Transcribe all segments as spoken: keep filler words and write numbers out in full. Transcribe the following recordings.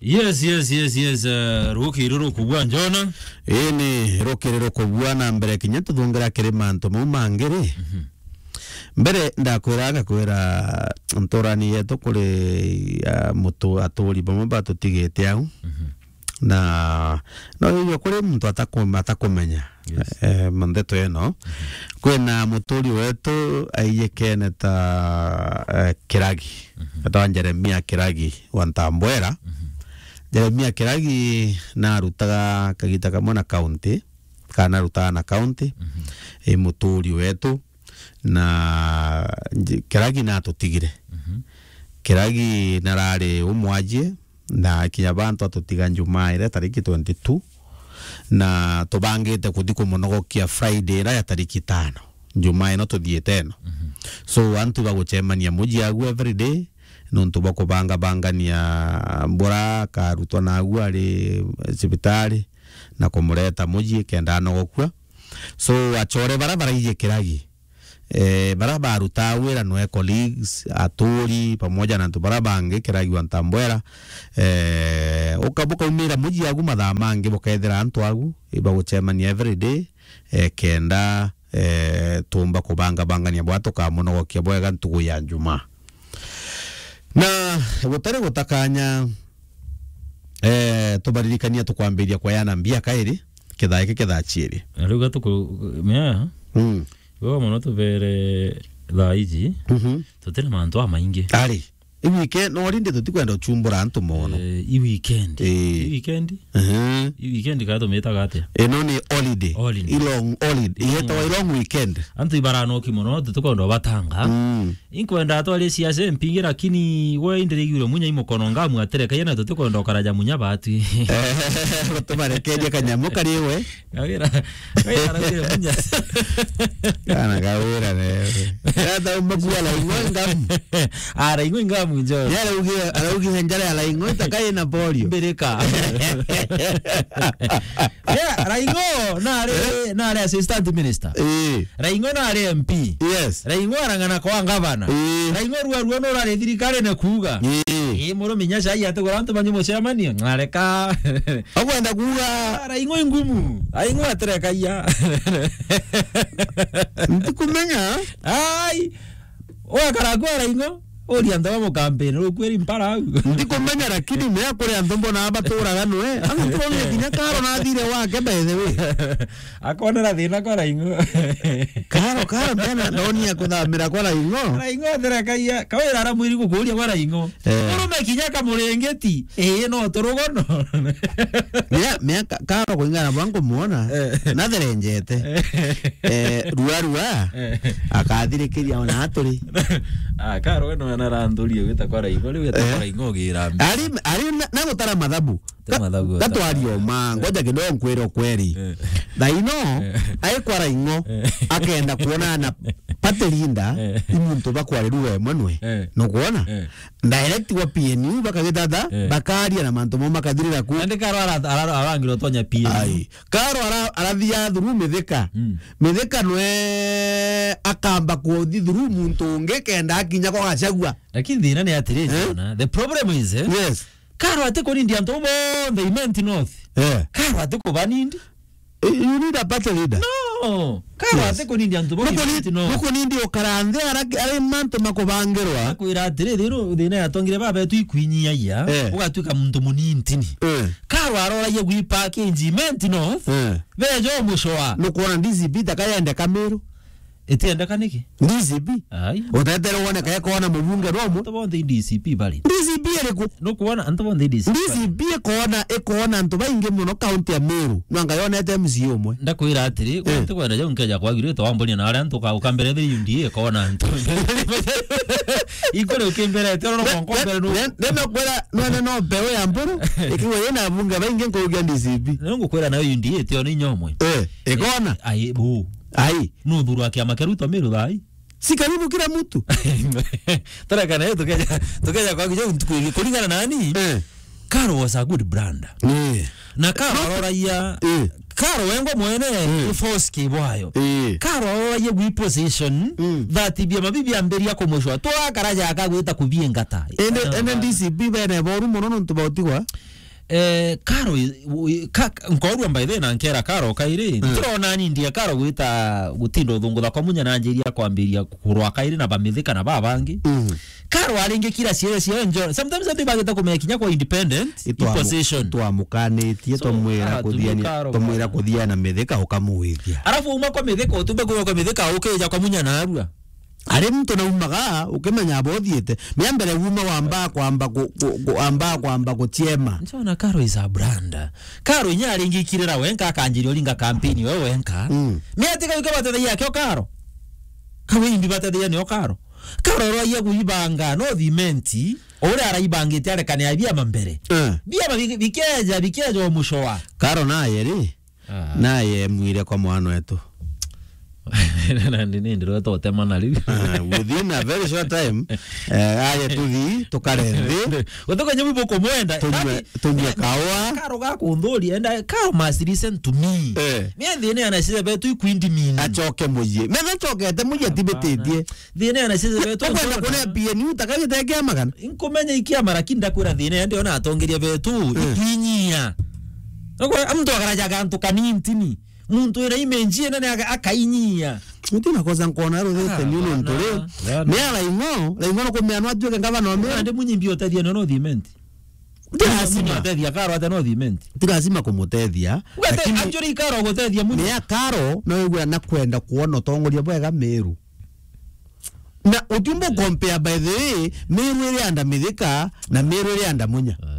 Yes, yes, yes, yes, eh, rukiri rukubua njona. Ii ni rukiri rukubua na mbere kinya tuthungira kiri mantu mau mangi ri. Mhm. Mbere ndakwira ngakwira nturani yetu kuri, ah, mutu aturi bamwe batutigite au. Mhm. Na no yo kuri muntu atakum-, atakumenya. Yes. Eh, ndeto ino. Mhm. Kwina muturi wetu aiyikene ta, eh, Kiragi. Mhm. Etwa Jeremia Kiragi wa Ntambwera. Mhm. Jeremia Kiragi narutaga kagita kamwe na county, kana narutaga na county, mhm, i muturi wetu, na nji-, Kiragi natutigire. Mhm. Kiragi narari umwajie, na kinya bantu atutiga Njumaa iria tariki twenty-two, na tubangite kuthi kumunogokia Friday iria ya tariki tano, Njumaa ino tuthiite ino. Mhm. So, antu bagucemania muji agu every day, nontu bwa kubangabangania mbura, akarutwa nagu ari cibitari, na kumureta muji kenda anogokua. So, achore bara baraiji Kiragi, eh, bara barutaa wira nwe colleagues, aturi, pamoja na antu bara bangi, Kiragi wa Ntambwera, eh, uka-, bukaumira muji agu mathaa mangi, bukethira antu agu, ibagucemania every day, eh, kenda, eh, tumba kubangabangania bwa tukamunogokia bwega ntugu ya Njumaa. Na gutari gutakanya, eh, tubaririkania tukwambiria kwayana mbia kairi, kithaa iki kithaa chiiri. Na riu gatuku-, mea, mm, iwe mono tubere thaa iji, mhm, tutire mantu amaingi. Ari, i weekend, no rindi tutikwenda uchumbura antu mono. Eh, i weekend. Eh. I weekend? Ehe. I weekend ka tumitaga atia? Ino ni holiday. Holiday. I long holiday. Long. Iyetawa i long weekend. Antu ibaranoki mono, tutikwenda ubatanga. Mm. Inkwenda atwarie siasa mpingi, lakini we indirigirwe munya i mukono ngamu aterekaia na tutikwenda ukaraja munya batwi. Eh, tubarekerie kanyamu kari we. Kawira, kawira araugire munya. Kana kawira ne. Yata umakua la ing'o ngamu. Ah, la ing'o ngamu njo. Yara ugie, araugie njara ya la ing'o itakai na polio. Mbirika. Yeah, Raing'o nari, eh, nari assistant minister. Eh. Raing'o nari M P. Yes. Raing'o arang'ana kwa gavana. Eh. Raing'o rua rua no rari thirikari ne kuuga. Eh. Eh, muru minya cai atigura antu banyu mucemanio. Ngareka. Akwenda kuuga. Ah, Raing'o ingumu. Raing'o aterekaia. Ntikumenya. Ai. Wakara kwa Raing'o, uri antu ba mukampeni, rukwiri mpara au. Ndikumenya, lakini mea kuri antu mbona baturaga nwe. Antu bamwe kinya Karo nathire wake, by the way. Akonera thina kwa Raing'o. Karo, Karo, mena ndoni ya kuthamira kwa Raing'o. Raing'o therekaia, kawira ara mwiri gukuria kwa Raing'o. Eh. Urume kinya kamurengeti, ii no turugono. Mea, mea Ka-, Karo kuringana na bwa nkumuona, eh, natherenjete. Eh, rua rua, eh, akathirikiria ona aturi. Ah, Karo we no anaranthurie gwita kwa Raing'o, riu gwita kwa, eh, Raing'o ugira mbi. Ari, ari na, na gutara mathabu. Te mathabu. Ga-, gatwari o ma, ngoja kidogo nkwire ukweri. Eh. Thaino, eh, ai kwa Raing'o, eh, akenda kuonana na party leader, eh, i muntu bakwarirua emwe nwe. Eh. Nukwona? Eh. Direct wa P N U bakagitata, eh, bakaria na mantu mo makathirira ku. Nandi Karo ara-, ara-, arangirwo tonya P N U. Ai. Karo ara-, arathia through Mithika. Mm. Mithika nwe akamba kuthi through muntu ungi kenda akinya kwa Gachagua. Lakini thina ni atiri, eh? Jona, the problem is, eh? Yes. Karo ati kunindi antu bonthe Imenti North. Eh. Karo ati kubanindi. Eh, you need a party leader. No. Karo, yes, ati kunindi antu bo. Nuku ni-, Imenti North. Nuku nindi ukara nthi ara-, ari mantu makubangirwa. Akwira atiri, thiru thina yatongire baba etu ikwinyiagia, eh, ugatwika muntu munintini. Eh. Karo aroragia gwi package Imenti North. Eh. Bejo mucoa. Nukwona D C P takayende Kamiru. Itiendeka niki? D C P? Ai. Utetere wone kae kona mubunge no mu. Antu bonthe i D C P bari. D C P iriku? Nukwona antu bonthe i D C P bari. D C P ikona, ikona antu baingi muno kaunti ya Meru. Nwanga yonete M C A umwe. Ndakwira atiri, eh, kwantu kwenda jau nkeja kwagirite wambonia na aria antu ka-, ukambere the U D A ikona antu. Ikore ukimberete, oro no nkombere nu. Ne, ne, ne, no kwira, no, ne, no mbeu ya mburu, ikiwa yina bunge baingi nkurugia D C P. Nungukwira nayo U D A tio ni nyomwe. Eh, ikona? Ai, bu. Ai. Nuthurwa kiama kia Ruto Meru thaa ii? Si karibu kila mtu. Tareka nayo tukeja, tukeja kwa kijo ntuku ingi. Kuringana nani? Eh. Karo was a good brand. Eh. Na Karo aroragia, eh, Karo wengwa mwene, eh, ni force kibwayo. Eh. Karo aroragia gwi position, mm, that bia mabibi ambiria kumucwa. Twakaraja akagwita kubiengata. Ende, ah, ende D C P bene boru muno nontu bautigwa. Eh, Karo i-, i-, ka-, nkorua by the way na nkera Karo kairi. Mm. Ntirona ni ndie Karo gwita gutinda uthungutha kwa Munya na njiria kwambiria kurwa kairi na bamithika na babangi. Mm. Karo aringi kira ciere cia njo. Sometimes antu bagita kumenya kinya kwa independent, i position. Twamukanitie, so, twamwira ah, kuthia ni, Karo twamwira bana. Kuthia na mithika ukamuithia. Arafu uma kwa mithika, utumbe kwa mithika, ukija kwa Munya na arua. Ari muntu naumaga, ukimenya aba uthiite. Mea mbere uma wamba kwamba ku-, ku-, ku-, amba kwamba guchiema. Nchona Karo is a brand. Karo inya aringikirira wenka, akanjiria uringa kampeni we wenka. Mm. Mea tika wike batethagia akio Karo. Kawe imbi batethagia nio Karo. Karo rwaia kuibanga, no thimenti. Ore araibangite arekane ya biama mbere. Eh. Biama bike-, bikeja, bikeja omushoa. Karo naye ri? Ah. Naye emwire kwa mwana wetu. Na ndi-, ni ndirwete utemana riu. Ah, within a very short time, eh, aye tuthi, tukare nthi. Gutuka nyamu bukumwenda. Tunywe, tunywe kawa. Karo gakunthuri, and I, Karo must listen to me. Eh. Me thina ya na ciana betu ikwindi mini. Acoke muyi. Me na cokete muyi atibititie. Thina ya na ciana betu. Ukwenda kuria P N U takagite kia magana. Inkumenya ikiama, lakini ndakwira thina ya ndiona atongeria betu, eh, ikinyia. Nokwa, muntu akaraja gantu kanintini. Muntu wina image ina ni aka-, akainyia. Muti na kosa nkona ruthete. Ah, ni untu bana, ri. Bana. Me ara ingo, ra ingo no kumea no atuike ngavana wa Meru. Ande Munya imbi utethia no, no thimenti. Ti lazima. Munya utethia Karo ate no thimenti. Ti lazima kumutethia. Ugate, lakini actually Karo gutethia Munya. Ni a Karo no igwe na kwenda kuona utongoria bwega Meru. Na utiumba compare, by the way, Meru iri anda Mithika na Meru iri anda Munya. Ai.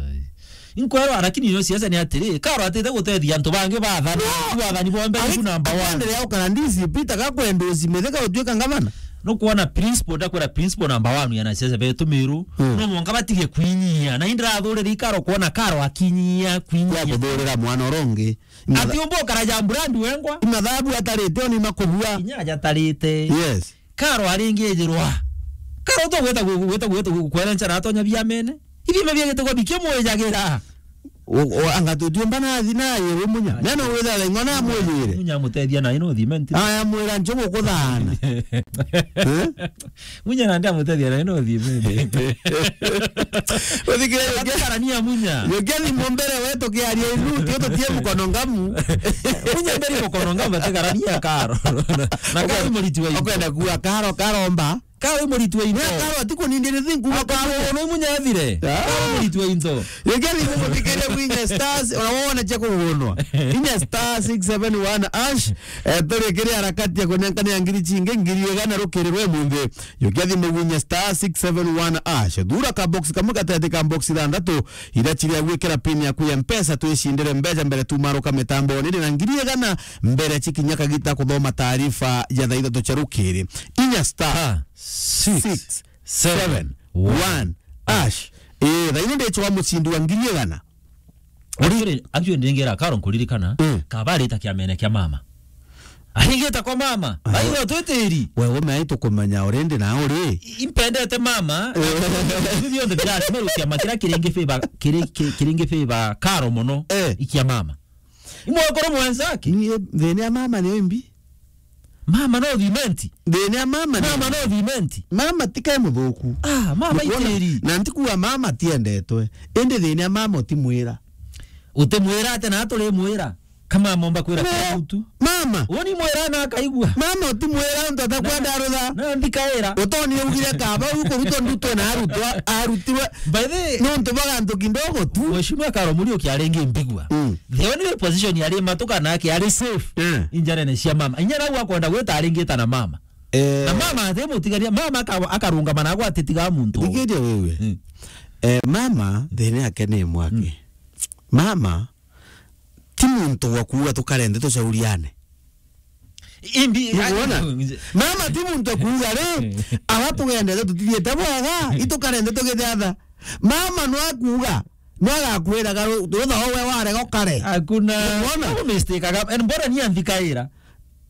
Inkwero, lakini ino siasa ni atiri, Karo atite gutethia antu bangi bathani, no, bathani bombe ari-, iku number one. Akwendelea ukara D C P, taka kwenda uci Mithika utuika ngavana. No kuona principle, ndakwira principle number one ya na siasa betu Meru, hmm, no mwanka batige kwinyia. Na indira athurire Karo kuona Karo akinyia, kwinyia. Ya kuthurira mwana urongi. Ati umba ukara ja brand wengwa? Imathabu atarite, oni makubua. Inya aja atarite. Yes. Karo aringijirwa. Karo to gweta gu-, gweta, gweta gu-, kwera nchara atonya biamene. Ibi mabia gitego bikia mwejagira. O, o, anga tutiumba na thi na ye we Munya. Neno witha la ing'ona mwejire. Munya mutethia na ino thimenti. Aya mwira njogo kuthana. Eh? Munya nandi amutethia na ino thimenti. Uthikire yogia. Karania Munya. Yogia ni mumbere wetu kiaria ilu, tio tutie mukono ngamu. Munya mbere mukono ngamu, atekarania Karo. Na Karo muriti wa ino. Okwenda kuwa Karo, Karo mba. Karo muriti wa ino. Karo atikunindire thinku. Karo no Munya athire. Ah. Karo muriti wa ino. Yogia ni mumuthikirie kwinya stars, ona wona cha kugunwa. Inya star six seven one hash, eh, turi kiri harakati ya kunyankania ngiri chingi, ngiri igana rukiri rwe munthi. Yogia thimu gwinya star six seven one hash. Thura ka box kamwe gatete ka box ithanthatu, iria chiria gwikira pin yaku ya Mpesa, twicindire mbeca mbere tumaruka mitamboni, na ngiri igana mbere chikinya kagita kuthoma taarifa ya thaa ithatu cia rukiri. Inya star six seven one hash. Eh, thaa ino ndichwa mucindi wa ngiri igana. Actually, actually, ndingira Karo nkuririkana, mm, kaba arita kiamene kia mama. Aringita kwa mama. Ah. Bai no twitiri. We, we, mai tukumenya already na uri. I-, impendete mama. Eh. Bibi onde bila, simeru kiama kira kiringi favor, kiri, ki-, kiringi favor Karo mono. Eh. Ikia mama. Imwakoro mwenzake. Ni thina ya mama ni imbi. Mama no thimenti. Thina ya mama ni mama no thimenti. Mama ti kae muthuku. Ah, mama itiri. Na ntikuwa mama tiendetwe. Indi thina ya mama utimwira. Utimwira ate na turi mwira. Kama momba kwira no, kiutu. Mama. Woni mwira na akaigua. Mama utimwira untu atakwenda arutha. Na ndikaira. Utoni ugire kaba ukurutwa ndutwe na arutwa, arutirwe. By the way, nontu baga ntu kidogo tu. Mheshimiwa Karo Muriuki aringi mbigua. Mm. The only position yari matuka nake ari safe. Eh. Injarene cia mama. Inya nau akwenda gwita aringita na mama. Eh. Na mama ati mutigaria, mama aka-, akarungama na agwa ati tiga muntu. Thikiria wewe. Mm. Eh, mama, thina yake ni mwaki. Mm. Mama, ti muntu wa kuuga tukarende tucauriane. Imbi, nikuona? Mama ti muntu akuuga ri, aba tugendete tutithiete bwega, itukarende tugithiatha. Mama no akuuga, no agakwiraga ru-, rutha we warega ukare. Hakuna. Nikuona? No mistake aga, and mbona ni anthikaira?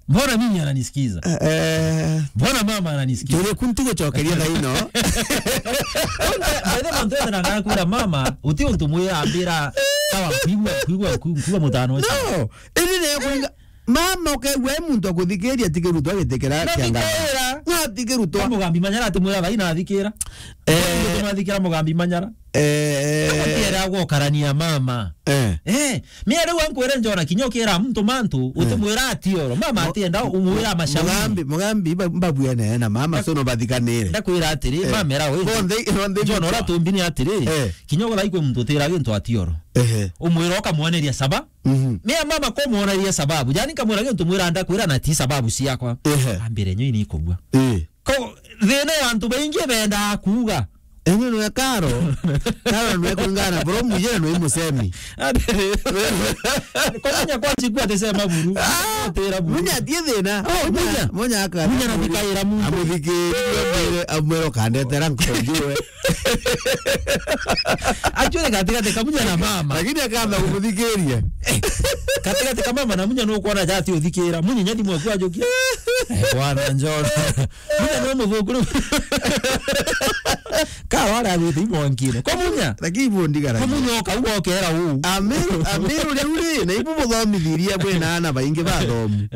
Mbona mimi ananisikiza? Eh, eh. Mbona mama ananisikiza? Njurie ku ntigucokeria thaa ino. By the way, mantu ethera ngakwira mama, uti untu mwira ambira, sawa, kwigua, kwigua, kwigua mutano ucio. No, indi ni kuringa, mama ukaigua e muntu akuthikiria atikirutwa gitikira kianga. Nathikira. Natikirutwa. Mugambi Manyara atimwira thaa ino athikira. Eh. Mugambi Manyara. Eh. Atienda gwokarania mama. Eh. Eh, mia riu ankwire njona kinya ukira muntu mantu, eh, utimwira atioro. Mama atienda umwira mashauri. Mugambi, mugambi, mba-, mbabuene na mama, so no bathikanire. Ndakwira atiri, eh, mama era we. Bonthe, bonthe njona ura tumbini atiri. Eh. Kinya ugathai kwi muntu utira gintu atioro. Ehe. Umwira ukamwoneria saba. Mhm. Mia mama kumwoneria sababu. Yani nkamwira gintu mwira ndakwira na ti sababu ciakwa. Ehe. Ambire nyo ini ikugua. Eh. Ko, thina ya antu baingi bendaa kuuga. Eno nwe Karo. Karo nwe kungana, bro, mujira nwe musemi. Kwa munya kwa chiku atisema buru. Ah, atira buru. Munya atie thina. Oh, munya. Munya, munya aka. Munya na thikaira muntu. Amuthikirire, amwire, amwire ukandetera nkonjue. Actually, katikati ka munya na mama. Lakini akamba kumuthikiria. Eh, katikati ka mama na munya nukwona jati uthikira. Munya nyadi mwaku ajukia. Eh, bwana njona. Munya no muthuku riu. Karo aria agwite imwankire. Kwa munya. Lakini ibu ndigara. Kwa munya oka, uga okera uu. Amiru, amiru riu ri, na ibu muthomithiria bwina ana baingi bathomu.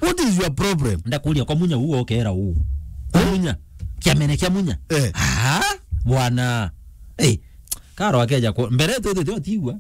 What is your problem? Ndakuria kwa munya uu okera uu. Kwa munya. Kiamene kia munya. Eh. Ah, bwana. Eh, Karo akeja ku-, mbere tu tu tu tigua.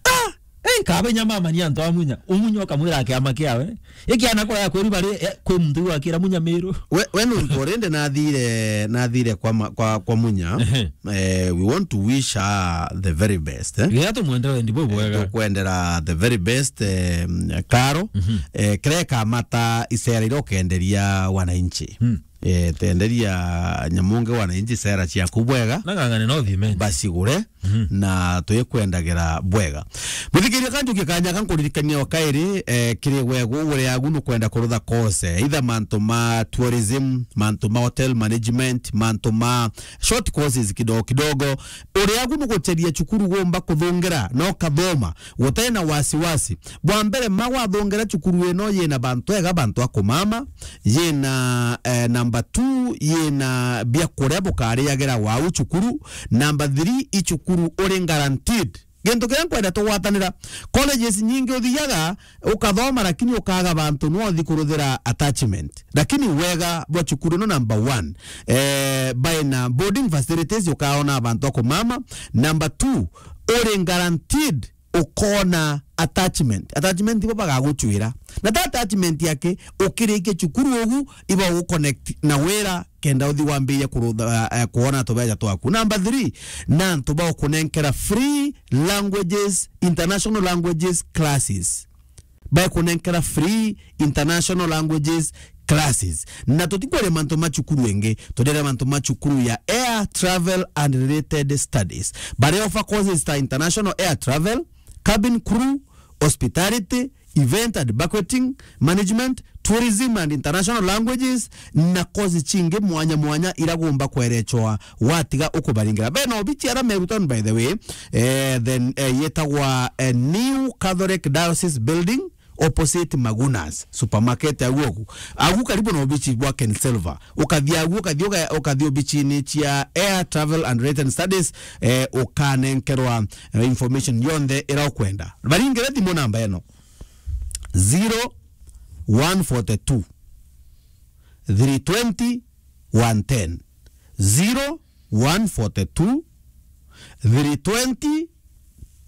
Ah! Ei, kabe nya mama ni antu a munya. Umunya ukamwira kiama kiawe. Ikiana kwa ya kweri bari, eh, kwi muntu wakira munya miru. We, we nuntu urinde nathire, nathire kwa ma-, kwa, kwa munya. Ehe. Eh, we want to wish her the very best, eh? Gea tumwendere ndi bwega. Eh, tukwendera the very best, eh, Karo. Mhm. Eh, kireka mata icera iria ukenderia wananchi. Hmm. Eh, tenderia nyamunge wananchi sera ciaku bwega. Na ng'ang'ane no thimen. Bacigure, mhm, na twikwendagira bwega. Muthikiria kanjukia kanya kankuririkania o kairi, eh, kiri wegu uri agu nukwenda kurutha course, either mantu ma tourism, mantu ma hotel management, mantu ma short courses kidogo kidogo. Uri agu nugucheria cukuru gumba kuthungira, no kathoma, gutena wasiwasi. Bwa mbere, ma gwathungira cukuru ino yina bantu ega, bantu a kumama, yina, eh, number two, yina biakuria bukariagira wau cukuru, number three, i cukuru uri guaranteed. Gintu kiria nkwenda tugwatanira, colleges nyingi uthiaga, ukathoma, lakini ukaga bantu nwa uthi kuruthira attachment. Lakini wega bwa cukuru ino number one, eh, baina boarding facilities, ukaona bantu a kumama. Number two, uri guaranteed ukona attachment. Attachment ibo bagaguchwira. Na ta attachment yake, ukirikia cukuru ugu, ibo guconnect na wira, kenda uthi wambirie kurutha, eh, kuona tubeja twaku. Number three, na antu ba gukunenkera free languages, international languages classes. Bakunenkera free international languages classes. Na tutikwaria mantu ma cukuru ingi, twenderea mantu ma cukuru ya air travel and related studies. Bari offer courses ta international air travel, cabin crew, hospitality, event and banqueting management, tourism and international languages, na course cingi mwanya mwanya ira gumba kwerechwa watiga ukubaringira. Bena obichi ara Meru Town, by the way, eh, then, eh, yetagwa, eh, New Catholic Diocese Building, opposite Magunas Supermarket, agu ogu. Agu karibu na obichi bwa Ken Silver. Ukathi agu, ukathi uka-, ukathi obichini cia Air Travel and Related Studies, eh, ukanenkerwa, eh, information yonthe ira ukwenda. Baringire thimu namba ino. Zero one forty two, three twenty, one ten. Zero one forty two, three twenty,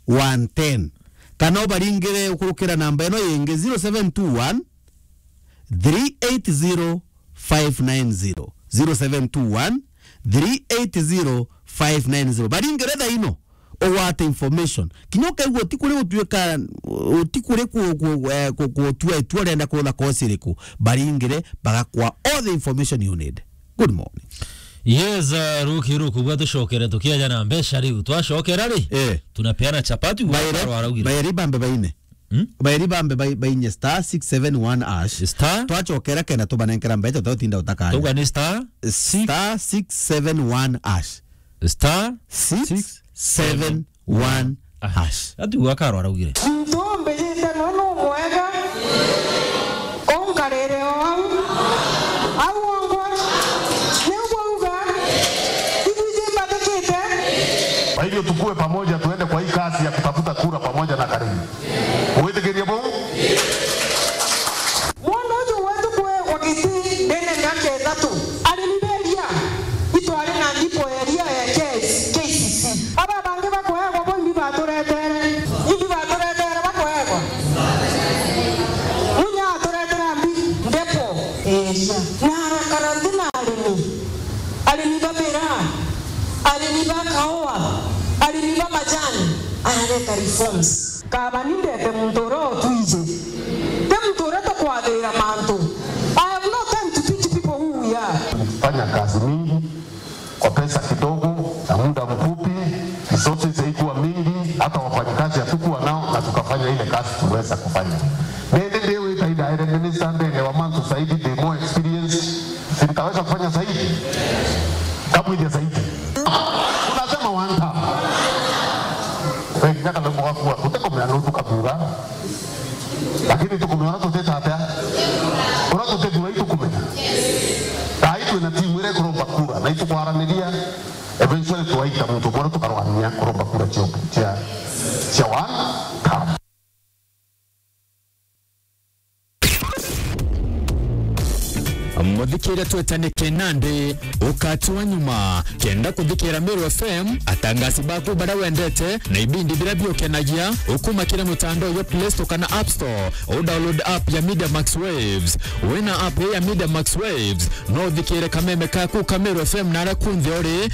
one ten. Kana ubaringire ukurukira namba ino yingi, zero seven two one, three eight zero, five nine zero. Zero seven two one, three eight zero, five nine zero. Baringire thaa ino, ugwate information. Kinya ukaigua utikuri gutuika, utikuri ku-, ku-, eh, ku-, gutua itua urenda kurutha course iriku, baringire, bagakwa all the information you need. Good morning. Yes, uh, ruki ruku bwa tucokere tukiaja na mbeca riu. Twacokera ri? Eh. Tunapeana chapati, Bairi, Karo araugire. Bairi bambe baine. Hmm? Bairi bambe bai-, bainye star six seven one hash. Star? Twachokera kenda tubanenkera mbeca, tautinda utakanya. Tuga ni star? Star six seven one hash. Star six seven one hash. Ati uga Karo araugire. Muntu umbijite no numwega. Unkarire o au. Au ongwa. Niu bwauga. Ibwiji mbatikite. Kwa hivyo tukue pamoja, tuende kwa hii kazi ya kutafuta kura pamoja na Karimi. Gwitikiria buu? Mwana uju wetu kuegwa giti ndene miaka ithatu, ari mberia, itwari na ndipo eria ya K C C. Aba Reforms. Kaba ni ndete muntu uria utwiji. Ti muntu uria tukwathira mantu. I have no time to teach people who we are. Fanya kazi mingi kwa pesa kidogo na muda mfupi, resources haikuwa mingi, hata wafanyikazi hatukuwa nao, na tukafanya ile kazi tuliweza kufanya. Nende ndio itaida minister ndene wa mantu zaidi, the more experience, si nitaweza kufanya zaidi? Kabwithia zaidi. Tunasema one time. Wengi nyaka ndio mugakua, utekomea no tukabuga. Lakini tukumenya uria tutite atia? Uria tutithua itukumenya. Thaa ii twina timu iria ikuromba kura, na itukwaraniria, eventually twaita muntu umwe uria tukarwania kuromba kura cia, cia, cia one term. Muthikiria, twetanike nandi ukati wa nyuma. Kenda kuthikira Meru F M, atangasi baku baria wendete na ibindi biria biukenagia, ukuma kiri mutandao jwa Play Store kana App Store, u download app ya Media Max Waves. Wina app ya Media Max Waves, no uthikire kameme kaku ka Meru F M na aria kunthe uri,